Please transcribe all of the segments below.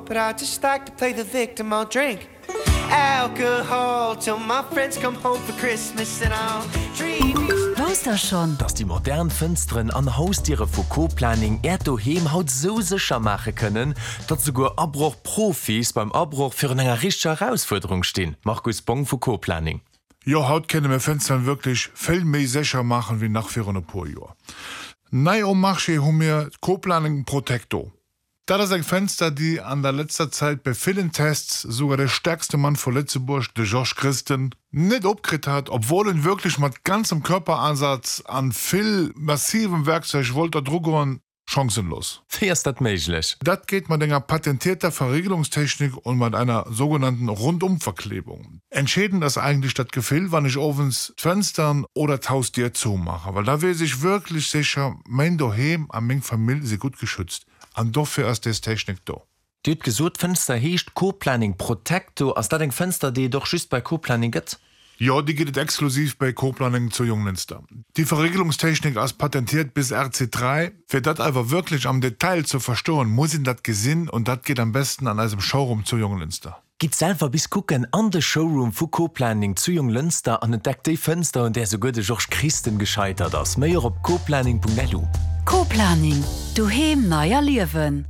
But I just like to play the victim I'll drink alcohol till my friends come home for Christmas and I'll dream. Wousst der schonn? Dass déi modern Fënsteren an Hausdiere vu Co-Planning Äert Doheem haut sou sécher maache kënnen, datt souguer Abroch-Profis beim Abroch virun enger richteger Erausfuerderung stinn? Markus Bong vu Co-Planning. Jo, haut kënne mir Fënsteren wierklech vill méi sécher maachen wéi nach virun e puer Joer. Nei um Marché hu mir d'Co-Planning Protecto. Dat ass eng Fenster, déi an der letzter Zäit bei villen Tests souguer de stärkste Mann vu Lëtzebuerg, de Georges Christen, net opkritt hat, obwuel en wierklech mat ganzem Körperansatz an vill massivem Werkzeug wollt da dru goen, chancenlos. Wéi ass dat méiglech? Dat geet mat enger patentierter Verriegelungstechnik und mat einer sogenannten Rundumverklebung. Entscheedend ass eigentlech dat Gefill, wann ech owends d'Fenstern oder d'Hausdier zoumaachen, well da weess ech wierklech sécher, mäin Doheem a meng Famill si gutt geschützt. An dofir ass des Technik do. Dir hutt gesot, d'Fënster heescht Co-Planning Protecto. Ass dat eng Fënster, déi et och just bei Co-Planning gëtt? Jo, déi gëtt et exklusiv bei Co-Planning zu Jonglënster. Déi Verriegelungstechnik ass patentiert bis RC3. Fir dat awer wierklech am Detail ze verstoen, muss een dat gesinn und dat geet am besten an eisem Showroom zu Jonglënster. Gitt selwer bis kucken an de Showroom vu Co-Planning zu Jonglënster an entdeckt déi Fënster, un där souguer de Georges Christen gescheitert ass. Méi och op coplanning.lu. Co-Planning, Doheem nei erliewen.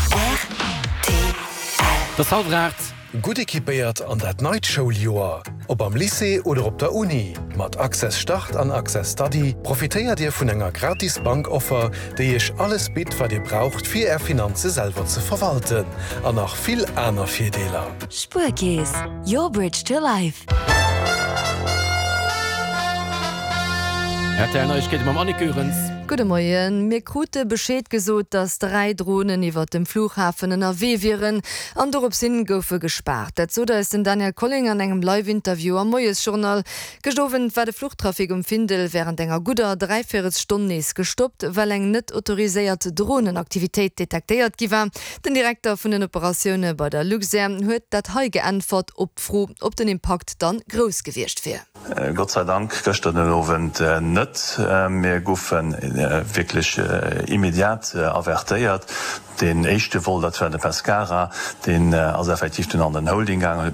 Rtl. Et ass hallwer 8. Gutt equipéiert an dat neit Schouljoer! Ob am Lycée oder op der Uni, mat Access Start an Access Study profitéiert Dir vun enger gratis Bankoffer, déi Iech alles bitt, wat Dir braucht, fir Är Finanze selwer ze verwalten. An nach vill aner Virdeeler. Spuerkeess, your bridge to life. Rtl Neiegkeete mam Annick Goerens. Gudde Moien. Mir krute Bescheed gesot, datt 3 Dronen iwwert dem Flughafen ënnerwee wieren an dorops hin goufe gespaart. Dat sot eis den Daniel Colling an engem Live-Interview am Moiesjournal. Gëscht Owend war de Fluchtrafic um Findel wärend enger gudder Dräivéierelstonn nees gestoppt, well eng net autoriséiert Dronenaktivitéit detektéiert gi war. Den Direkter vun den Operatioune bei der Luxair huet dat hei geäntwert op d'Fro, ob den Impakt dann grouss gewiescht wier. Gott sei Dank gëschter den Owend net. Mir goufe wierklech immediat avertéiert. Deen éischte Vol, dat war de Pescara, deen ass effektiv dunn an den Holding gaangen.